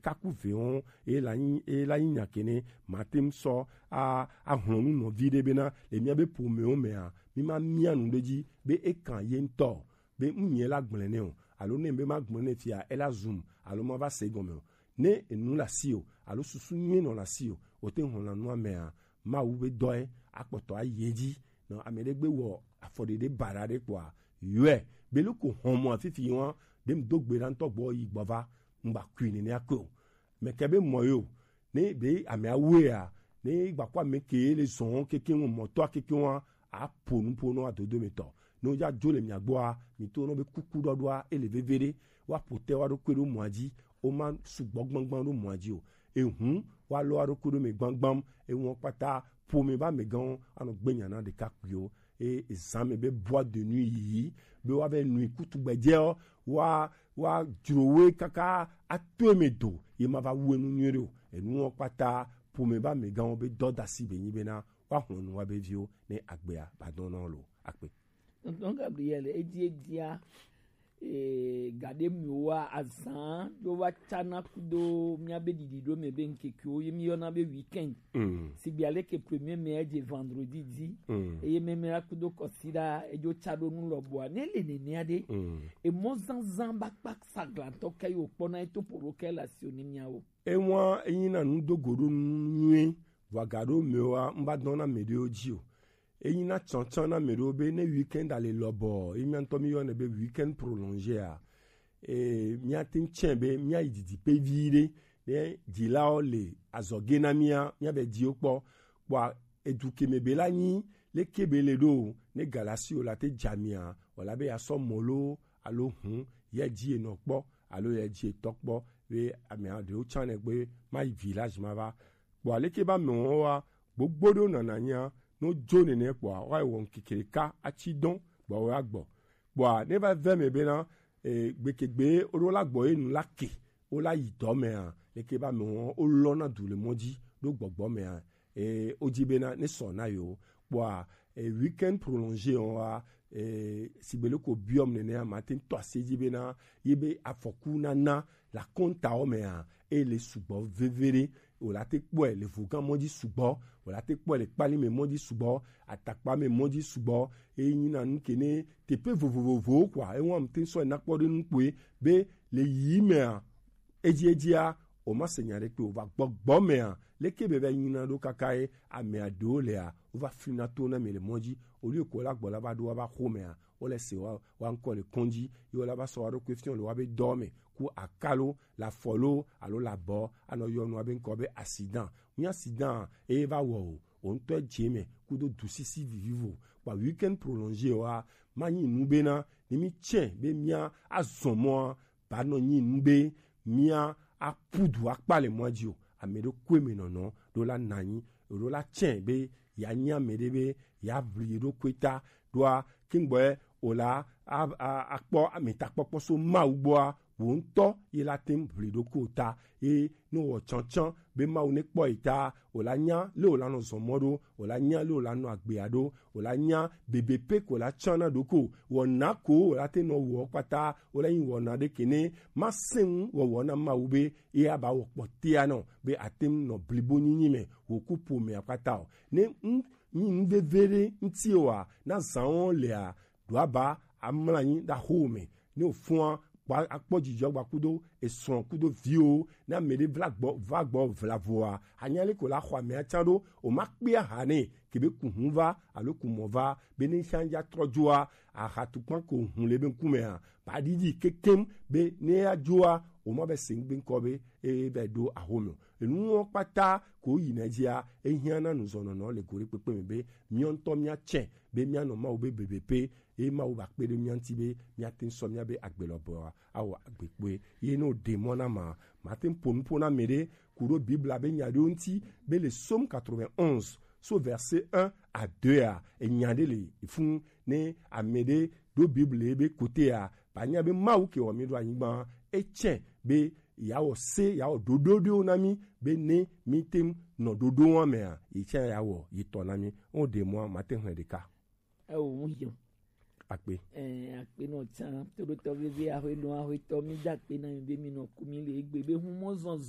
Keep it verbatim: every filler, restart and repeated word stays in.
kaku ve wɔn, e la nyi, e la nyi nya kene, ma te ŋu sɔ a, a hlɔnu nɔvi ɖe bena, le mía be ƒomewo mea, mi ma mía nu ɖe dzi be e kan ye ŋutɔ o, be ŋu nyɛ la gblẽ nɛ o, alo ne be ma gblẽ nɛ fia, e la zum, alo ma va se egɔme o. Ne enu le asi o, alo susu nyui nɔ le asi o, o te ŋu hlɔna nua mea, Mawu be dɔe akpɔtɔ ayi edzi. Nɔ ame ɖe gbe wɔ afɔɖeɖe baɖa ɖe kpɔa, yɔe be loko hɔn mɔ afifi wa ɖem do gbe ɖa ŋutɔ gbɔ yi gbɔ va, ŋgba kui nene akpe o. Mɛ ke be mɔ yo, ne be ame awea, ne gba kɔ ame ke le zɔn keke ŋu mɔtɔ keke wa, apo nupo nɔ adodo me tɔ. Ne o ya dzo le mia gbɔa, mi to nɔ be kuku ɖɔɖɔa, ele veve ɖe, wa ƒo te wa ɖo kpe ɖo mɔa dzi, o ma sugbɔ gbangban ɖo mɔa dzi o. Ehun wa lɔ aɖo kuɖo me gbangbam, ewɔn kpata ƒome ba me gãwo anɔ gbe nya na ɖekakpuiwo. E ezan me be boîte de nuit yiyi be wa be nui kutu gbedzeɔ, wa wa dzrowe kaka ato eme do, ye ma va wu enu nyuie ɖe o. Enuwo kpata ƒome ba me gãwo be dɔdasi be nyi bena wa hlɔnu wa be viwo ne agbea ba dɔn na wo lo akpe. Tonton Gabriel, edi edia, e, gaɖe miwoa azan ɖo va tsana kudo miabe ɖiɖiɖo me be ŋkekewo ye miyɔna be weekend. Mm. Sigbe aleke premier mai edze vendredi dzi. Mm. Eye memela kudo kɔsiɖa edzo tsa ɖo nu lɔbɔa. Ne le nenea ɖe, mm, emɔzazã bakpa saglantɔ ke yi wòkpɔna eto ƒo ɖo ke le asi o ne miawo. Ewa enyina nudogoɖonu nyuie, vɔ agaɖo mewoa, ŋva dɔn na ame ɖewo dzi o. Enyina tsantsan na ame ɖewo be ne weekend ale lɔbɔ, ye mía ŋutɔ mí yɔnɛ be weekend prolongé a, e, míate ŋu tsɛ be míayi didiƒe vi ɖe, ne dzilawo le azɔge na mía, míabe dziwo kpɔ. Kpɔa edu ke me be la nyi leke be le ɖo, ne galasi o la te dza mia, o la be ya sɔ mɔ lo alo hun, ya dzi enɔ kpɔ, alo ya dzi etɔ kpɔ, be ame aɖewo tsã ne gbe ma yi village ma va. Kpɔ aleke ba me wɔn wa, gbogbo ɖewo nana nya, no dzo nene kpɔa, wa wɔ ŋkeke ɖeka atsi dɔn, gbɔ wa gbɔ. Kpɔa ne va ve me bena, e, gbekegbe woɖo la gbɔ ye nu la ke, wo la yi dɔ mea, leke ba me wɔn, wo lɔ na du le mɔ dzi, ɖo gbɔgbɔ mea, e, wo dzi bena ne sɔ na yewo. Kpɔa, e, weekend prolongé wɔn wa, e, sigbe loko biɔm nenea, ma te ŋu tɔ asi dzi bena, ye be afɔku nana la kɔntawo mea, e le sugbɔ veve ɖe, wòle ate kpɔe le vogã mɔ dzi sugbɔ, wòle ate kpɔe le kpali me mɔ dzi sugbɔ, atakpa me mɔ dzi sugbɔ, eye nyina nu ke ne teƒe vovovowo kɔa, ewa ŋute sɔ na kpɔ ɖe nu kpoe be le yi mea, edzi edzia, o ma se nya ɖe kpe o va gbɔgbɔ mea, leke be va nyina ɖo kaka ye amea ɖewo lea, wova flina to na me le mɔ dzi, o lieu ko la gbɔ la va ɖo wa va xo mea, wole se wa, wa ŋkɔ le kɔndzi, ye wole va sɔ wa ɖokui fiɔ le wa be dɔ me, ku akalo, la fɔ lo, alo la bɔ, anɔ yɔ nua be ŋkɔ be accident. Ŋu accident, eye va wɔ o, o ŋutɔ dze me, kudo dusisi vivivo. Kpa weekend prolongé wa, ma nyi nu bena, ne mi tsɛ be mia azɔ mɔa, ba nɔ nyi nu be mia apudu akpa le mɔa dzi o. Ame ɖo kue me nɔnɔ, ɖo la nanyi, ɖo la tsɛ be ya nyi ame ɖe be ya ʋli ɖo kue ta, ɖoa, kingboɛ, o la, a, a, akpɔ ame takpɔkpɔ so Mawu gbɔa, wo ŋutɔ ye la te ŋu ʋli ɖo ko ta, ye no wɔ tsantsan be Mawu ne kpɔ yi ta, o la nya le o la nɔ zɔn mɔ ɖo, o la nya le o la nɔ agbea ɖo, o la nya bebe pe ko la tsã na ɖo ko, wɔ na ko o la te nɔ wɔ kpata, o la nyi wɔna ɖe ke ne ma se ŋu wɔwɔ na Mawu be ye aba wɔ kpɔtea nɔ be ate ŋu nɔ blibo nyinyi me, wò ku ƒomea kpata o. Ne ŋu nyi nu veve ɖe ŋuti oa, na zãwo lea, ɖo aba amla anyi ɖe axo me. Ne wòfɔa, kpɔ, akpɔ dzidzɔ gba kudo esrɔ̃ kudo viwo. Ne ame ɖe vla gbɔ, va gbɔ vla voa, anya le ko la xɔ amea tsã ɖo, o ma kpea ha nɛ, ke be ku hu va, alo ku mɔ va, be ne sia ya trɔ dzoa, aha tukpa ko hu le be ŋkumea, ba ɖiɖi kekem be ne ya dzoa, o ma be se ŋgbe ŋkɔ be e be ɖo axo me o. Enuwo kpata ko yi na dzia, ehiã na nuzɔnɔnɔ le go ɖe kpekpe me be míawo ŋutɔ míatsɛ be míanɔ Mawu be bebeƒe, eye Mawu ba kpe ɖe mía ŋuti be míate ŋu sɔ míabe agbe lɔbɔa awɔ agbe kpoe. Ye ne wòɖe mɔ na ma, mate ŋu ƒo nu ƒo na ame ɖe ku ɖo Biblia be nya ɖewo ŋuti be le Psaume quatre-vingt-onze, so verset un à deux a, enya ɖe le funu ne ame ɖe ɖo Biblia be kotea, ba nya be Mawu ke wɔ mí ɖo anyigba, etsɛ be yeawɔ se, yeawɔ ɖoɖo ɖewo na mí, be ne míte ŋu nɔ ɖoɖowo mea, ye tsã yeawɔ ye tɔ na mí. Wo ɖe mɔa, mate ŋu hlẽ ɖeka. Ewo, ŋu yɔ. Akpe. Ɛɛ, akpe nɔ tsã, toɖotɔ vevi, axwe nɔ, axwetɔ, mí da akpe na mi be mi nɔ ku mí le egbe be humɔ zɔzɔ